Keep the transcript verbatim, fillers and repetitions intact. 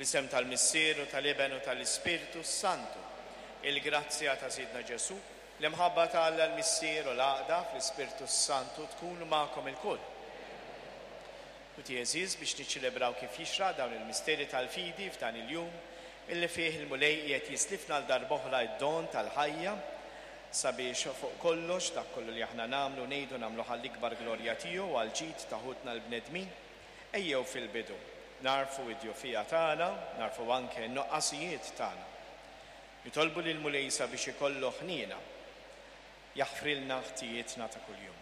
Fl-isem tal-Missier u tal-Iben u tal-Ispirtu Santu, il-grazzja ta' Sidna Ġesù, l-imħabba ta' Alla l-Missier u l-għaqda fl-Ispirtu Santu tkun magħkom ilkoll. Ħuti għeżież, biex niċċelebraw kif jixraq dawn il-misteri tal-fidi f'dan il-jum illi fih il-Mulej qiegħed jislifna għal darb'oħra d-don tal-ħajja, sabiex fuq kollox dak kollu li aħna nagħmlu ngħidu nagħmlu għall-ikbar glorja tiegħu u għall-ġid ta' ħutna l-bnedmin, ejjew fil-bidu nagħrfu d-dgħufija tagħna, nagħrfu anke n-nuqqasijiet tagħna. Nitolbu lill-Mulej sabiex ikollu ħniena, jaħfrilna ħtijietna ta' kuljum.